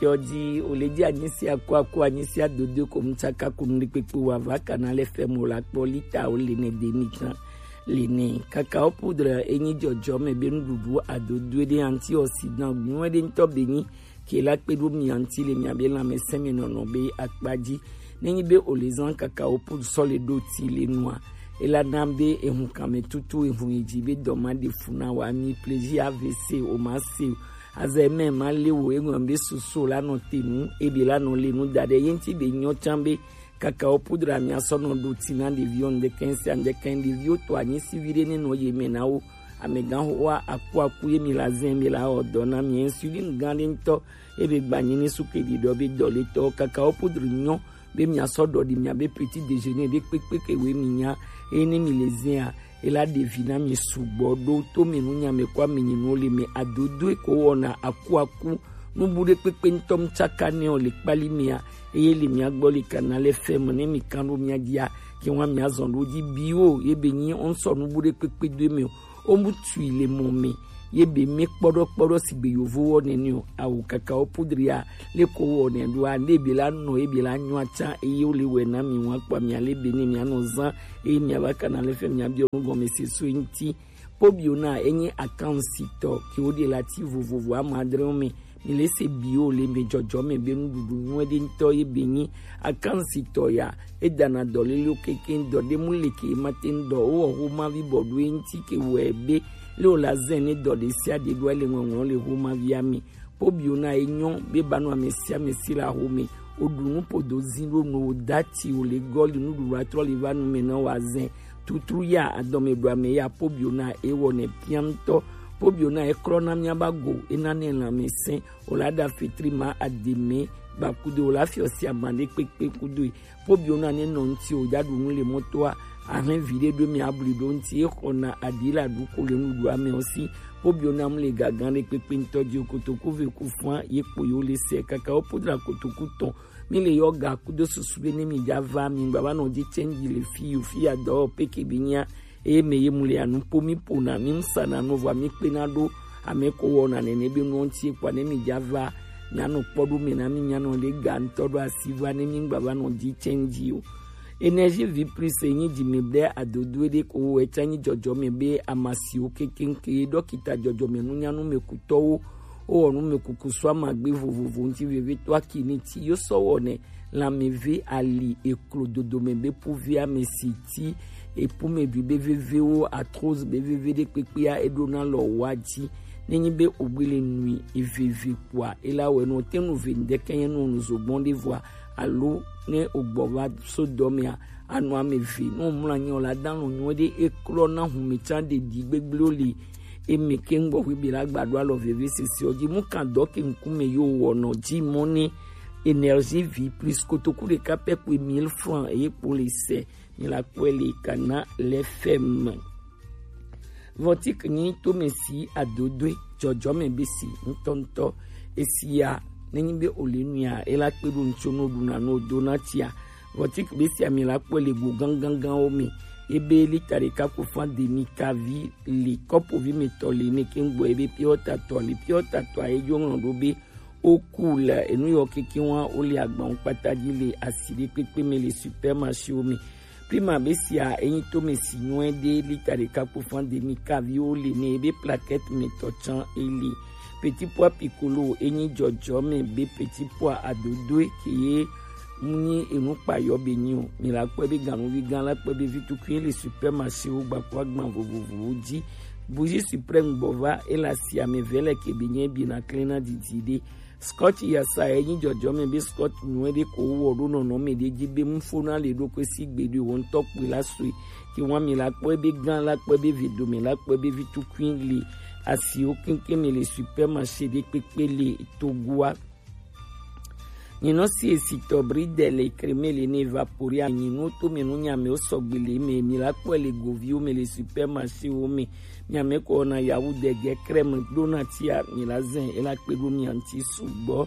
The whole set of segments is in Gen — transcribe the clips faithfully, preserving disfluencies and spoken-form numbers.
Yɔdi o le di anyisi akuaku anyisi adodo ko mu tsaka kunu ɖekpekpe wa va kana le fɛ mo la kpɔ lita o le ne demi kan le ne. Kakao poudre enyi jɔjɔ mɛ be nuɖuɖu adodo ɖe antioxydant nyuie ɖe ŋutɔ be nyi ke la kpe ɖo mi anti le mia be lãmesẽ me nɔnɔ be akpa dzi. Ne nyi be o le zan kakao poudre sɔ le ɖo ti le nua, e la na be ehun kan me tutu ehun yi dzi be dɔ ma ɖe fu na wa mi plaisir A V C o ma se o. Azɛ mɛ ma le wo eŋɔ be soso la nɔ te nu ebe la nɔ le nu da ɖe ye ŋuti be nyɔ can be kakao poudre mia sɔ nɔ ɖo ti na ɖeviwo ŋdɛkɛn sia ŋdɛkɛn ɖeviwo to anyi si vi ɖe ne nɔ ye mɛ na wo. Amegã xoxoa akuaku ye mi la zɛn mi la wɔ dɔ na mi insuline gã ɖe ŋutɔ ebe gbanyi ni suke ɖiɖɔ be dɔ le tɔ kakao poudre nyɔ be mia sɔ ɖɔ ɖi mia be petit déjeuner ɖe kpekpe ke we mi nya eye ne mi le zɛn a ela ɖevi na mi sugbɔ ɖo to mi nu nya me kɔ ami nyi nu le me adodo ko wɔna akuaku nubu ɖe kpekpe ŋutɔ mi tsaka ne o le kpali mia eye le mia gbɔ le kana le fɛ me ne mi kan ɖo mia dia ke wa mia zɔn ɖo dzi bi o ye be nyi o ŋsɔ nubu ɖe kpekpe do me o o mu tui le mɔ me ye be me kpɔɖɔ kpɔɖɔ si be yovo wɔ nɛnɛ o awu kakao poudre a le ko wɔ nɛ ɖo a ne be la nɔ ye be la nyɔ atsa eye o le wɛ na mi wa kpɔ mi ale be ne mia nɔ zan eye mia va kana le fɛ mia biɔ nu gɔme se so ŋuti. Pobio na enyi akansitɔ ke o de la ti vovovo ama adre o me mi le se bi o le me jɔjɔ me be nuɖuɖu nyuie ɖe ŋutɔ ye be nyi akansitɔ ya e dana dɔ lele o keke dɔ ɖe mu le ke ma te ŋdɔ o wɔ xo ma vi bɔ ɖo ye ŋuti ke wɛ be le o la zɛn ne dɔ ɖe sia ɖe ɖo le ŋɔŋlɔ le xo ma via me. Pobio na enyɔ be ba nɔ ame sia ame si le axome. Woɖu nu podo zi ɖo no dati wòle gɔli nuɖuɖu atrɔ li va nu me na wazɛn tutru ya adɔme ɖu ame ya pobio na ewɔ ne piantɔ. Pobio na ekrɔ na mia ba go ena ne lãmesẽ wòla ɖa fitri ma ademe gbakudo wòla fiɔ si ama ɖe kpekpe kudo. Pobio na ne nɔ ŋuti o ɖa ɖu nu le mɔtoa ahlẽ vi ɖe ɖo mi abli ɖo ŋuti exɔna aɖi la ɖu ko le nuɖuɖu ame o si. Pobio na mu le gagan ɖe kpekpe ŋutɔ dzi o kotoku ve ku fua ye kpo yo le se kaka wo podra kotoku tɔn mi le yɔ ga kudo susu be ne mi dza va mi gba va nɔ dzi tsɛn dzi le fi yo fi ya dɔ peke bi nya eye me ye mu le anu po mi po na mi ŋsa na nu vɔ mi kpe na ɖo ame ko wɔ na nene be nu ŋuti kpɔ ne mi dza va mi anɔ kpɔ ɖo me na mi mi anɔ le ga ŋutɔ ɖo asi va ne mi gba va nɔ dzi tsɛn dzi o. Énergie vie plus enyi dzi mi ɖe adodo ɖe ko wɔ etsa nyi dzɔdzɔ me be amasiwo kekeŋke ɖɔkita dzɔdzɔ me nunyanu me kutɔwo wowɔ nu me kuku sɔ amagbe vovovo ŋuti veve to aki ni ti yo sɔ wɔ ne lãmeve ali eklo dodome be puvi ame si ti epume dui be vevewo atroz be veve ɖe kpekpea eɖo na lɔ wa dzi nenyi be ogbele nui eveve kpoa ela wɛ no te nu ve ŋdeke nye nu nu zogbɔn ɖe vɔa alo ne ogbɔ va so dɔ mea anu ame ve no mla nyo la dan lo nyo ɖe eklɔ na hume tsa ɖe di gbegbleo li eme ke ŋgbɔ ƒe bi la gba ɖo alɔ veve sese o dzi mu kan dɔ ke ŋkume yo wɔ nɔ dzi mɔ ne énergie vie plus kotoku ɖeka pɛ kpoe mille francs eye kpo le se mi la kpɔe le kana le fɛ me. Vɔtik nyi tome si adodoe dzɔdzɔme be si ŋutɔŋutɔ esia nenyi be ole nua ela kpe ɖo ŋutso no ɖuna no do na tia. Vɔtik be sia mi la kpɔe le go ganganganwo me ebe lita ɖeka ko fan demi kavi li kɔpovi me tɔ li ne ke ŋgbɔ ebe piɔtatɔ li piɔtatɔ a edzo ŋlɔ ɖo be oku le enu yɔ keke wa wo le agbawo kpata dzi le asi ɖe kpekpe me le supermarché wo me. Prima be sia enyi tome si nyuie ɖe lita ɖeka kpo fan demi kavi wo le ne ebe plaquette me tɔ tsan ele. Petit pois piccolo enyi dzɔdzɔ me be petit pois adodoe ke ye mu nyi enu kpa yɔ be nyi o mi la kpɔe be ganuvi gã la kpɔe be vi tukui le supermarché wo gbakua gban vovovowo dzi. Bougie suprême gbɔ va ela si ame ve le ke be nye bi na klena didi ɖe. Scotch yasa enyi dzɔdzɔ me be scotch nyuie ɖe ko wɔ ɖo nɔnɔ me ɖe dzi be mu fo na le ɖo ko si gbe ɖo wo ŋutɔ kpui la sue ke wa mi la kpɔe be gã la kpɔe be ve dome la kpɔe be vi tukui le asiwo keŋkeŋ me le supermarché ɖe kpekpe le togoa. Nyinɔ si esitɔ bridel le kreme le ne evaporia nyinɔ to me nu nyame wo sɔgbe le me mi la kpɔe le goviwo me le supermarché wo me nyame kɔ na yawu dege crème ɖo na tia mi la zɛn ela kpe ɖo mi anti sugbɔ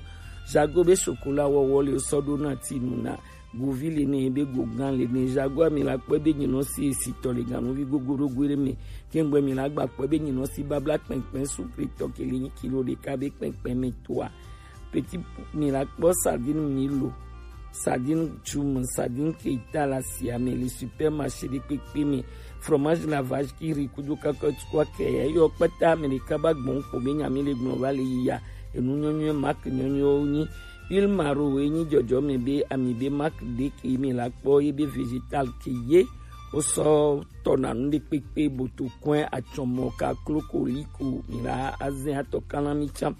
jago be chocolat wɔwɔ le sɔ ɖo na ti nu na govi le ne be go gan le ne jago mi la kpɔe be nyinɔ si esitɔ le ganuvi gogo ɖo goe ɖe me kengbe mi la gba kpɔe be nyinɔ si babla kpɛnkpɛn sukritɔ ke le nyi kilo ɖeka be kpɛnkpɛn me toa. petit, mi la kpɔ sardine Milo, sardine Jum, sardine Keita le asia me le supermarché ɖekpekpe me, fromage la vache qui rit kudo kakɔti kɔ ke eyɔ kpata ame ɖeka ba gbɔn kpo be nya mi le gblɔ va le yiya. Enu nyɔnyɔ marque nyɔnyɔwo nyi. Huile Maro ye nyi dzɔdzɔme be ami be marque ɖe ke mi la kpɔ ye be végétal ke ye wosɔ tɔna nu ɖekpekpe, botokɔe, atsɔmɔ, kaklo, koliko, mi la azẽ atɔ kana mi tsã.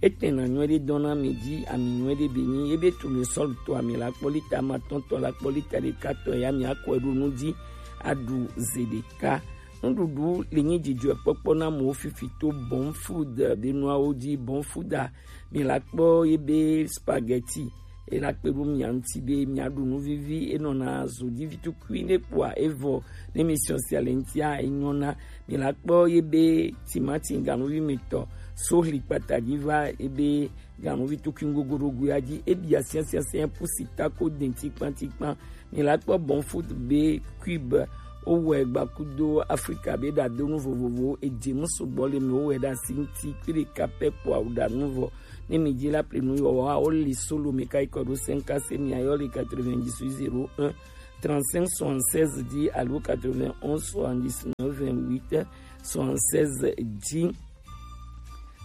Etɛna nyuiɖe dɔna mi dzi, ami nyuiɖe be nyi ye be tournesol tɔ ami la kpɔ lita ma tɔn tɔ la kpɔ lita ɖeka tɔ ya mi akɔe ɖo nu dzi aɖu ze ɖeka. Nuɖuɖu le nyi dzidzɔkpɔkpɔ na amewo fifi to Bon Food be nuawo dzi. Bon Food a, mi la kpɔ ye be spaghetti, e la kpe ɖo mia ŋuti be miaɖu nu vivi, enɔna zodi vi tukui ne kpɔa evɔ ne mi siɔ sia le ŋutia enyɔna. Mi la kpɔ ye be timati ganuvi me tɔ, sohli kpata dzi va ye be ganuvi tukui gogoɖogoea dzi, ebia siasiasia pusi tako denti kpantikpan. Mi la kpɔ Bon Food be cube, wowɔe gba kudo Afrika be ɖadonu vovovowo, edze mu sugbɔ le mi wowɔe ɖe asi ŋuti kui ɖeka pɛ kpɔa wo ɖanu vɔ. Ne mi dzi la ple nu yɔ wa wo li solo mi ka ikɔ ɖo cinq se mi ayɔ le quatre-vingt-dix zéro un trente-cinq soixante-seize dzi alo quatre-vingt-onze soixante-dix-neuf vingt-huit soixante-seize dzi.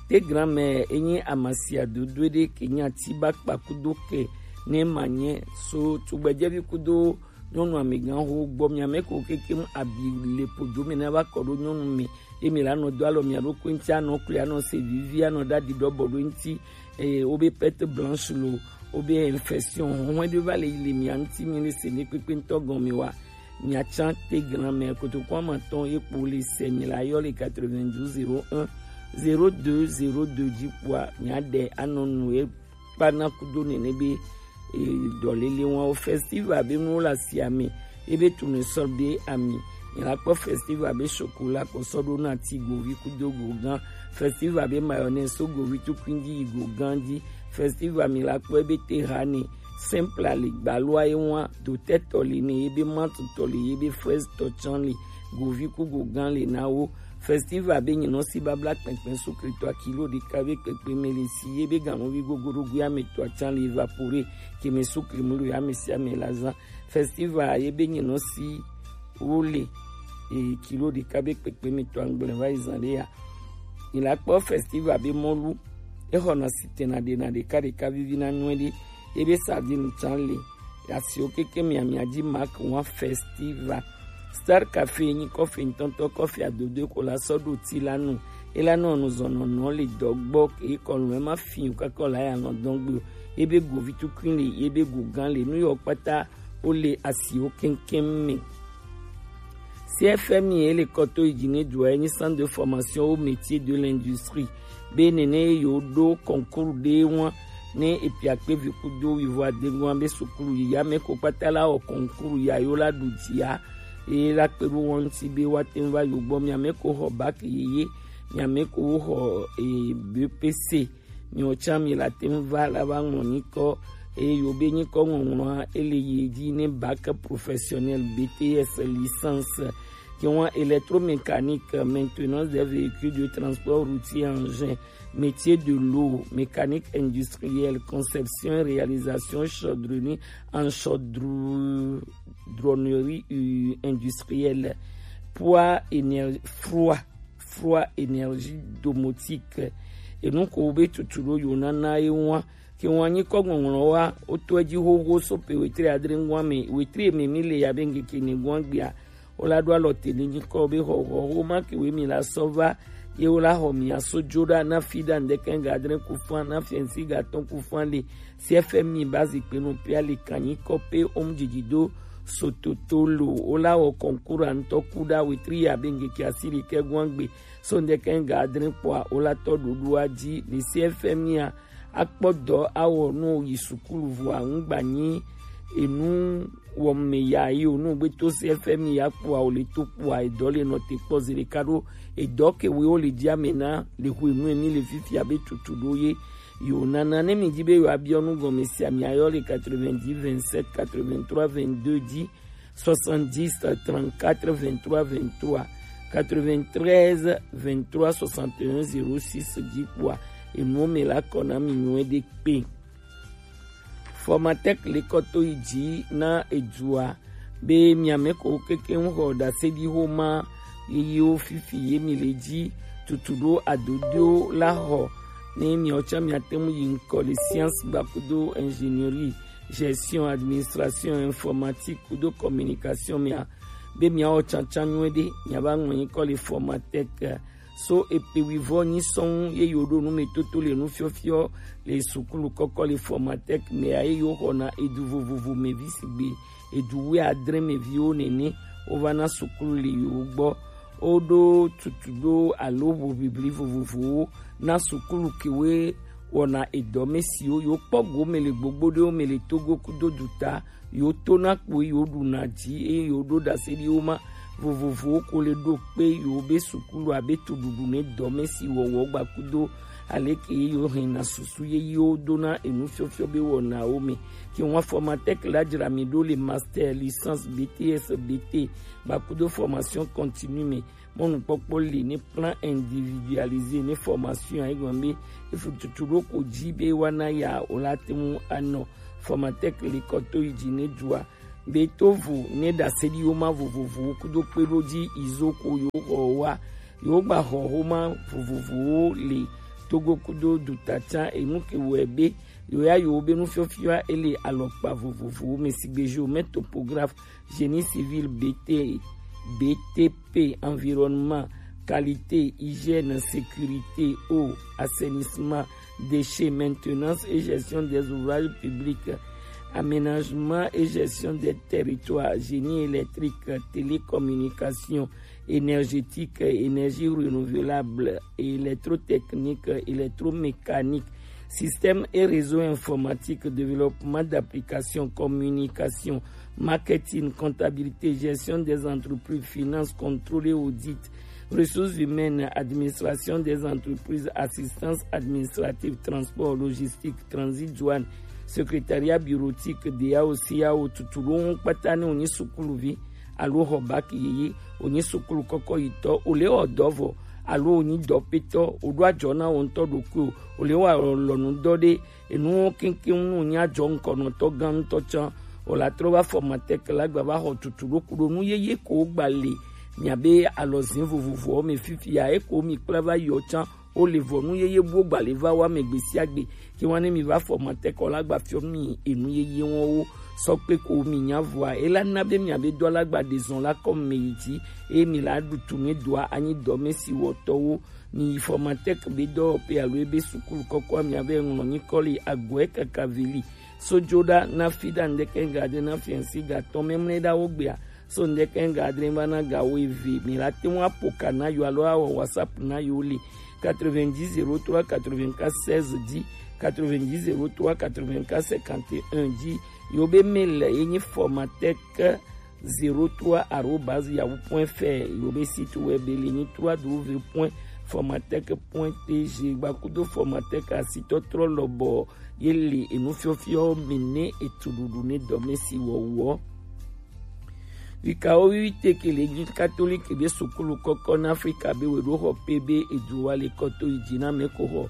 Te granmɛ enyi amasia dodo ɖe ke nya ti ba kpa kudo ke ne ma nye so tugbedzevi kudo nyɔnu amegã ho gbɔ mia me ko keke mu abi le podo me na va kɔ ɖo nyɔnu me ye mi la nɔ do alɔ mia ɖo ko ŋuti anɔ kuli anɔ se vivi anɔ ɖa di ɖɔ bɔ ɖo ŋuti eye wo be perte blanche lo wo be infection hɔn ɖe va le yi le mia ŋuti mi le se ne kpekpe ŋutɔ gɔme wa. Miatsã te granmɛ kotoku amatɔn ye kpo le se mi la yɔ le quatre-vingt-douze zéro un zéro deux zéro deux dzi kpoa miaɖe anɔ nu ye kpana kudo nene be e, dɔlele wan o festival be nuwo le asia me ye be tournesol be ami mi la kpɔ festival be chocolat kɔ sɔ ɖo na ti govi kudo gogã festival be mayonnaise so govi tukui dzi yi gogã dzi festival mi la kpɔ ye be te ha ne simple le gbalua ye wan dotɛ tɔ le ne ye be mantɔ tɔ le ye be fraise tɔ tsã le govi ku gogã le na wo. Festival be nyinɔ si babla kpɛnkpɛn sukritɔ kilo ɖeka be kpɛkpɛ me le si ye be ganuvi gogoɖogoe ame tɔ tsã le évapore ke me sukri mu lo ya me si ame la zã. Festival ye be nyinɔ si wo le e kilo ɖeka be kpɛkpɛ me tɔ angble va yi zã ɖe ya. Mi la kpɔ festival be mɔlu exɔna si tena ɖena ɖeka ɖeka vivi na nyuie ɖe ye be sardine tsã le asiwo keke miamia dzi mark wan festival. Star Cafe nyi kɔfe ŋutɔŋutɔ kɔfe adodoe ko la sɔ ɖo ti la nu. Ela nɔ nuzɔnɔnɔ le dɔ gbɔ ke kɔnu ema fi o kaka la ya nɔ dɔn gbe o. Ye be govi tukui le ye be gogã le nu yɔ kpata wo le asiwo keŋkeŋ me. C F M I ye le kɔto yi dzi ne dua ye nyi centre de formation au métier de l'industrie. Be nene ye yo ɖo concours ɖe wan ne epiakpe vi kudo wivo adegoa be sukulu yi ya me ko kpata la wɔ concours ya yo la ɖu dzia ye la kpe ɖo wɔn ŋuti be wa te ŋu va yo gbɔ mia me ko xɔ bac yeye mia me ko wo xɔ e, B P C miwo tsã mi la te ŋu va la va ŋlɔ nyikɔ eye yo be nyikɔ ŋɔŋlɔa ele yi dzi ne bac professionnel B T S licence. Ke wan électromécanique, maintenance des véhicules de transport routier engin, métier de l'eau, mécanique industrielle, conception et réalisation chaudronnerie en chaudronnerie euh, industrielle, poids énergie, froid, froid énergie domotique. Enu ko wo be tutu ɖo yo nana ye wan ke wan nyikɔ ŋɔŋlɔ wa wo to edzi xoxo so pe wetri adre ŋua me wetri me mi le ya be ŋkeke ne ŋua gbea wo la ɖo alɔ te ne nyikɔ be xɔxɔ wo ma ke we mi la sɔ va ye wo la xɔ mi aso dzo ɖa na fi ɖa ŋdeke ga adre ku fã na fiɛnsi ga tɔn ku fã le C F M I ba zikpe no pia le kan nyikɔ pe om dzidzi do sototo lo wo la wɔ kɔnkura ŋutɔ ku ɖa wetri ya be ŋkeke asi ɖekɛ ŋua gbe so ŋdeke ga adre kpɔa wo la tɔ ɖoɖoa dzi le C F M I a akpɔ dɔ awɔ nu yi sukulu vɔa ŋgba nyi enu wɔme ya yi o nu gbe to C F M I ya kpɔa o le to kpɔa edɔ le nɔ te kpɔ zi ɖeka ɖo edɔ ke we wo le dzi ame na le xo enu emi le fifia be tutu ɖo ye yo nana ne mi dzi be yo abiɔ nu gɔme sia mi ayɔ le quatre-vingt-dix vingt-sept quatre-vingt-trois vingt-deux dzi soixante-dix trente-quatre vingt-trois vingt-trois quatre-vingt-treize vingt-trois soixante et un zéro six dzi kpɔa enuwo mɛ la kɔ na mi nyuie ɖe kpe. Formatec le kɔ to yi ji na edua be miame ko keke ŋu xɔ ɖaseɖixoma yeyewo fifi ye mi le ji tutu ɖo adodo la xɔ ne miawo tsã miate ŋu yi ŋkɔ le science gbakudo ingénierie, gestion, administration, informatique kudo communication mea be miawɔ tsantsan nyuie ɖe miava ŋlɔ nyikɔ le Formatec so epe wuivɔ nyi sɔŋ ye yewo ɖo nu me toto le nufiɔfiɔ le sukulu kɔkɔ le Formatec mea ye yewo xɔna edu vovovo me vi sigbe edu wuiadre me viwo nene wova na sukulu le yewo gbɔ. Woɖo tutu ɖo alo hoʋiʋli vovovowo na sukulu kewoe wɔna edɔ me siwo yewo kpɔ go me le gbogbo ɖewo me le Togo kudo duta yewo tona kpo yewo ɖuna dzi eye yewo ɖo ɖaseɖiwo ma vovovowo ko le ɖo kpe yewo be sukulu abe tuɖuɖu ne dɔme si wɔwɔ gbakudo aleke ye yewo hɛna susu yeyewo dona enufiɔfiɔ be wɔnawo me. Ke ŋua Formatec la dzra mi ɖo le master, licence, B T S, B T gbakudo formation continue me. Mɔnukpɔkpɔ li ne plan individualisé ne formation ayi gɔn be efu tutu ɖo ko dzi be wana ya o la te ŋu anɔ Formatec li kɔ to yi dzi ne dua be tovo ne ɖaseɖiwo ma vovovowo kudo kpe ɖo dzi izo ko yo xɔ wa yo gba xɔ xoma vovovowo le Togo kudo dutatsa enu ke wɔe be yo ya yo be nufiɔfiɔa ele alɔkpa vovovowo me sigbe géomètre, topographe, génie civil, B T, B T P, environnement, qualité, hygiène, sécurité, eau, assainissement, déchets, maintenance et gestion des ouvrages publics, aménagement et gestion des territoires, génie électrique, télécommunication, énergétique, énergie renouvelable, électrotechnique, électromécanique, système et réseau informatique, développement d'applications, communication, marketing, comptabilité, gestion des entreprises, finance, contrôle et audit, ressources humaines, administration des entreprises, assistance administrative, transport, logistique, transit, douane, secrétariat bureautique, D A O, C A O, tutu ɖo ŋu kpata ne wonyi sukuluvi alo xɔ bac yeye, wonyi sukulu kɔkɔ yitɔ, wole wɔ dɔ vɔ, alo wonyi dɔpetɔ, woɖo adzɔ na wo ŋutɔ ɖokui o, wole wɔ alɔnu dɔ ɖe, enuwo keŋkeŋ nu wonyi adzɔ ŋkɔnɔtɔ gã ŋutɔ tsã, wòle atrɔ va Formatec la gba va xɔ tutu ɖo ku ɖo nu yeye ko wogba le miabe alɔzin vovovowo me fifia, eko mi kpla va yɔ tsã, wo le vɔ nu yeye buwo gba le va wa me gbe sia gbe. Ke wa ne mi va Formatec la gba fiɔ mi enu yeye wɔn wo sɔ kpe ko mi nya vɔa, ela na be miabe dɔ la gba de zɔn la kɔ me yi dzi, eye mi la ɖu tu ne dɔa anyi dɔ me si wɔtɔwo. Mi yi Formatec be dɔwɔƒe alo ebe sukulu kɔkɔa miabe ŋlɔ nyikɔ le agɔe kaka vili. So dzo ɖa na fi ɖa ŋdeke ga de na fiɛnsi ga tɔ memle ɖa wo gbea. So ŋdeke ga adre va na ga wo eve. Mi la te ŋu apo ka na yo alo awɔ WhatsApp na yo le quatre-vingt-dix zéro trois quatre-vingt-quatre seize dzi, quatre-vingt-dix zéro trois quatre-vingt-quatre cinquante et un dzi. Yo be mail ye nyi Formatec zéro trois arobase yahoo point F R. Yo be site web le nyi trois W point formatec point T G. Gbakudo Formatec asitɔtrɔ lɔbɔ ye le enufiɔfiɔ mi ne etuɖuɖu ne dɔmesi wɔwɔ. Vikawo wiwi teke le nyi Katoliki be sukulu kɔkɔ na Afrika be we ɖo xɔ pe be edu wa le kɔto yi dzi na me ko xɔ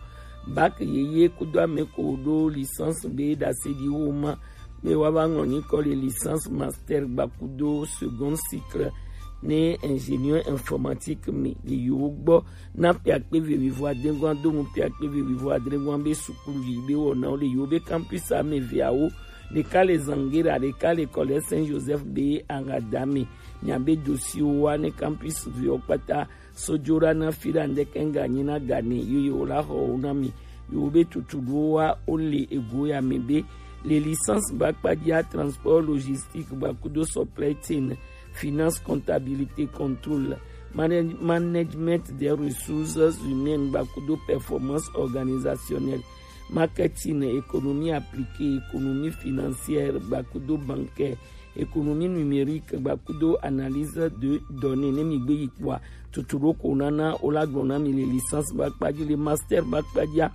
bac yeye kudo ame ko ɖo licence be ɖase ɖi wo ma be wa va ŋlɔ nyikɔ le licence, master gbakudo second cycle ne ingénieur informatique mi le yewo gbɔ na piakpe ve wivo adengɔn do mu piakpe ve wivo adengɔn be sukulu yi be wɔnawo le yewo be campus ame veawo ɖeka le Zangera, ɖeka le Collège Saint Joseph be Agadame. Miabe dosiwo wa ne campus viwo kpata sojo ɖa na fi ɖa ŋdeke ŋga nyi na ga ne yo yewo la xɔ wo na mi. Yewo be tutu ɖo wa wo le ego ya me be le licence ba kpadzia transport logistique gbakudo supply chain, finance, comptabilité, contrôle, manage-, management des ressources humaines gbakudo performance organisationnelle, marketing, économie appliquée, économie financière gbakudo bancaire, économie numérique gbakudo analyse de données ne mi gbe yi kpɔa tutu ɖo ko nana wo la gblɔ na mi le licence ba kpadzi, le master ba kpadzia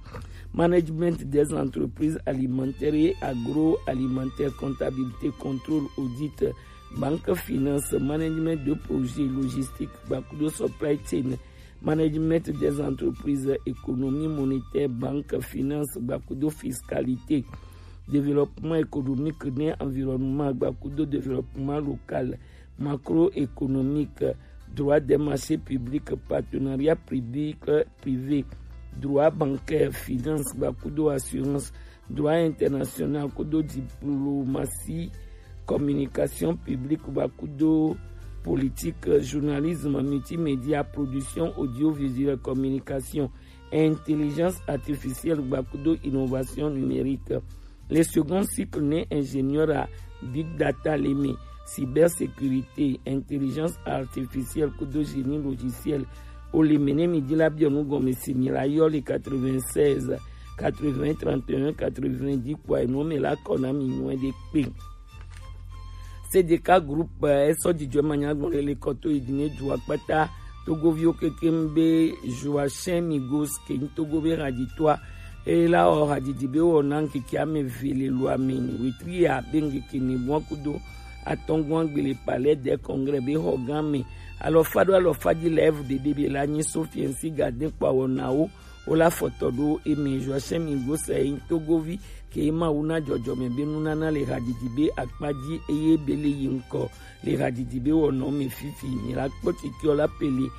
management des entreprises alimentaires et agroalimentaires, comptabilité, contrôle, audit, banque, finance, management de projet, logistique gbakudo supply chain, management des entreprises, économie monétaire, banque, finance, gbakudo fiscalité, développement économique ne environnement, gbakudo développement local, macroéconomique, droit des marchés publics, partenariat public privé, droit bancaire, finance, gbakudo assurance, droit international, kudo diplomatie, communication publique, gbakudo politique, journalisme, multimédia, production audiovisuelle, communication, intelligence artificielle, gbakudo innovation numérique. Le second cycle ne ingénieur à big data leme, cybersécurité, intelligence artificielle, kudo génie logiciel. O leme ne mi di la biɔ nu gɔme si mi la yɔ le quatre-vingt-seize, quatre-vingts, trente et un, quatre-vingt-dix, kua enu me la kɔ na mi nyuɛ de kpe. C D K Group, eh, esɔ dzidzɔ ma nya gbɔn le kɔto yi dine du akpata Togoviwo kekem be Joachim Migos ke nyi Togo be hadzitɔa. Eye la wɔ hadzidzi be wɔ na ŋkeke ame eve le lua me, wetri ya be ŋkeke ne gbɔn kudo atɔngɔn gbele Palais des Congrès be xɔ gã me. Alɔfa ɖo alɔfa dzi le evu dede be la nyi Sofiensi Gadin kpa wɔnawo. Wo la fɔtɔ ɖo eme Joachim Migos yi Togovi ke Mawu na dzɔdzɔme be nunana le hadzidzi be akpa dzi eye be le yi ŋkɔ le hadzidzi be wɔnɔ me fifi. Mi la kpɔ titiɔ la pele